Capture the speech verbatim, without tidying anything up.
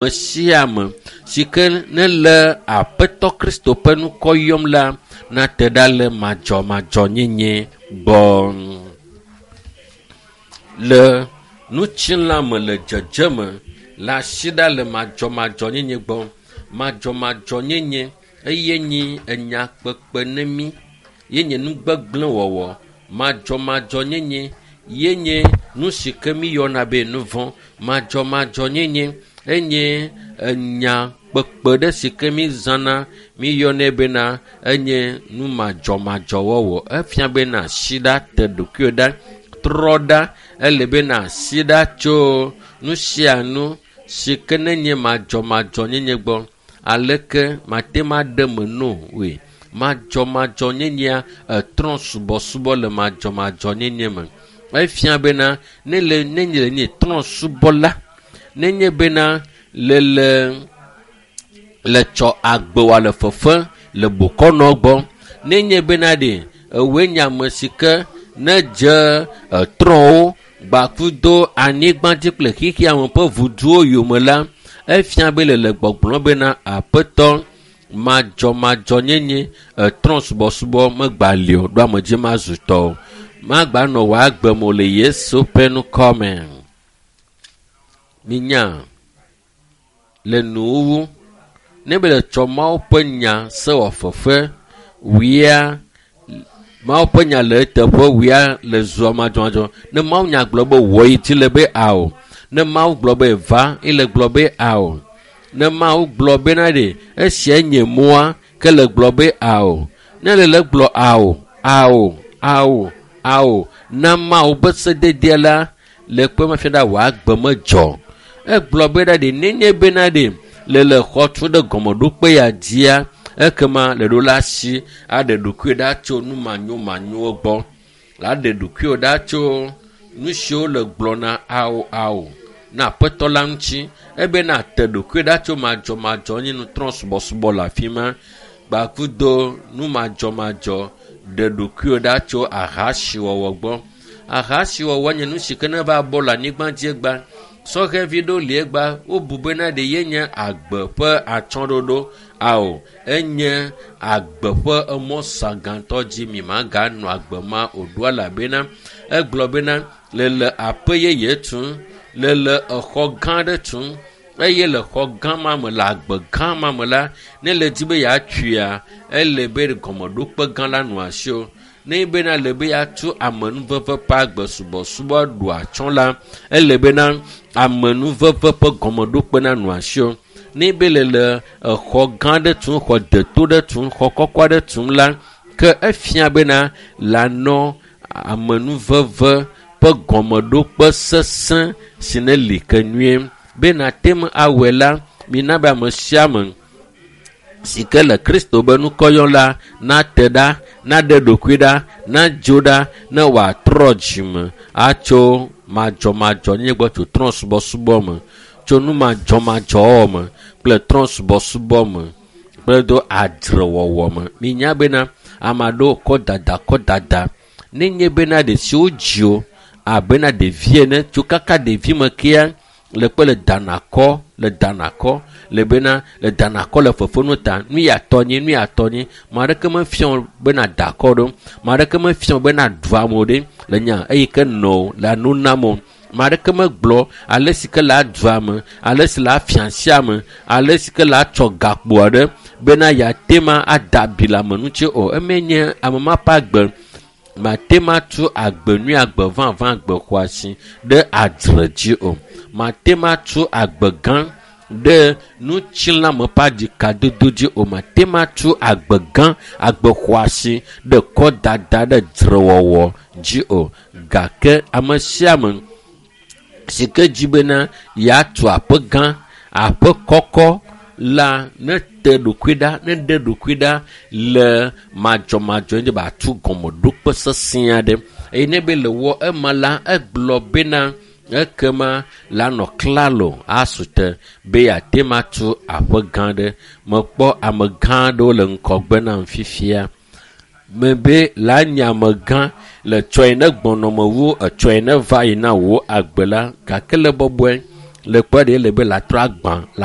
Ame sia ame si ke ne le Aƒetɔ Kristo ƒe ŋkɔ yɔm la nate ɖa le madzɔmadzɔnyenye gbɔ. Le ŋutilã me le dzedzeme le asi ɖa le madzɔmadzɔnyenye gbɔ. Madzɔmadzɔnyenye eye nyi enya kpekpe ne mí ye nye nu gbegblẽ wɔwɔ. Madzɔmadzɔnyenye ye nye nu si ke míyɔna be nu vɔ̃. Madzɔmadzɔnyenye enye enya kpekpe ɖe si ke mízãna míyɔnɛ bena enye nu madzɔmadzɔ wɔwɔ. Efia bena asi ɖa te ɖokuiwò ɖa trɔ ɖa ele bena asi ɖa tso nu sia nu si ke nenye madzɔmadzɔnyenye gbɔ. Aleke mate ŋu aɖe me no woe. Madzɔmadzɔnyenyea etrɔ subɔsubɔ le madzɔmadzɔnyenye me. Efia bena ne le nenye le nye trɔ subɔla nenye bena le le le tsɔ agbe wɔ le fefe le bokɔnɔ gbɔ nenye bena ɖe ewoe nye ame si ke ne dze etrɔwo gbakudo anyigbadzi kple xexea me ƒe vuduwo yome la efia be le le gbɔgblɔ bena aƒetɔ madzɔmadzɔnyenye etrɔ subɔsubɔ megba li o ɖo ame dzi mazu tɔ o magba nɔ wò agbe me o le Yesu ƒe ŋkɔ me. Minya le nuwuwu ne be le tsɔ Mawu ƒe nya se wɔ fefe wia Mawu ƒe nya le eteƒe wia le zua madzɔmadzɔ. Ne Mawu nya gblɔ be wɔ yi dzi le be ao. Ne Mawu gblɔ be va ele gblɔ be ao. Ne Mawu gblɔ bena ɖe esia nye mɔa ke le gblɔ be ao. Ne le le gblɔ ao, ao, ao, ao na Mawu ƒe sededea la le kpe ma fia ɖa wò agbe medzɔ. Egblɔ bena ɖe nenye bena ɖe le le xɔ tu ɖe gɔmeɖokpe ya dzia ekema le ɖo la si aɖe ɖokuiwò ɖa tso nu manyomanyowo gbɔ. La ɖe ɖokuiwò ɖa tso nu siwo le gblɔna ao ao na aƒetɔ la ŋuti ebena te ɖokuiwò ɖa tso madzɔmadzɔ nye nu trɔ subɔsubɔ le afi ma gbakudo nu madzɔmadzɔ ɖe ɖokuiwò ɖa tso ahasiwɔwɔ gbɔ. Ahasiwɔwɔ nye nu si ke ne va bɔ le anyigba dzi egba. Sɔhɛvi ɖewo li egba wobu bena ɖe ye nye agbe ƒe atsyɔ̃ɖoɖo ao enye agbe ƒe emɔ sagãtɔ dzi mi maganɔ agbe ma o ɖo elabena egblɔ bena le le aƒe yeye tum le le exɔ gã aɖe tum eye le xɔ gã ma me le agbe gã ma me la ne le di be yeatuia ele be gɔmeɖokpe gã la nɔ asiwò. Ne bena le be yeatu amenuveve ƒe agbe subɔsubɔ ɖu atsyɔ̃ la ele bena amenuveve ƒe gɔmeɖokpe nanɔ asiwò. Ne be le le exɔ gã aɖe tum, xɔ deto ɖe tum, xɔ kɔkɔ aɖe tum la ke efia bena lanɔ amenuveve ƒe gɔmeɖokpe sesẽ si ne li ke nyuie. Be nate ŋu awɔe la, mina be ame sia ame si ke le Kristo be ŋkɔ yɔm la nate ɖa, naɖe ɖokui ɖa, nadzo ɖa ne wòatrɔ dzime atso madzɔmadzɔnyenye gbɔ tso trɔ subɔsubɔ me, tso nu madzɔmadzɔwɔwɔ me kple trɔ subɔsubɔ me kple do adzrewɔwɔ me. Minya bena ame aɖewo kɔ dada kɔ dada nenye bena ɖe si wodzi wo abena ɖevi ene tso kaka ɖevi me kea le kpe le danakɔ le danakɔ le bena le danakɔ le fefenu ta nu ya tɔ nyi nu ya tɔ nyi ame aɖeke mefia wo bena da akɔ ɖo ame aɖeke mefia wo bena ɖu amewo ɖe le nya eyi ke nɔ le nu nam o ame aɖeke megblɔ ale si ke le adu ame ale si le afia asi ame ale si ke le atsɔ gakpo aɖe bena yeate ma ada abi le ame ŋuti o eme nye ame ma ƒe agbe mate ma tu agbe nyui agbe vavã agbe xɔasi ɖe adzre dzi o mate ma tu agbe gã ɖe ŋutilãme ƒe aɖikadodo dzi o mate ma tu agbe gã agbe xɔasi ɖe kɔdada ɖe dzrewɔwɔ dzi o gake ame sia ame si ke dzi bena yeatu aƒe gã aƒe kɔkɔ la ne te ɖokui ɖa ne ɖe ɖokui ɖa le madzɔmadzɔ dzi be atu gɔmeɖokpe sesẽ aɖe eye ne be le wɔ ema la egblɔ bena ekema la nɔ klalo asu te be yeate ma tu aƒe gã aɖe. Mekpɔ ame gã aɖewo le ŋgɔgbe nam fifia. Mebe la nye amegã le tsɔe ne gbɔnɔme wu etsɔe ne va yi na wò agbe la gake le bɔbɔe le kpɔ ɖe le be la trɔ agbã la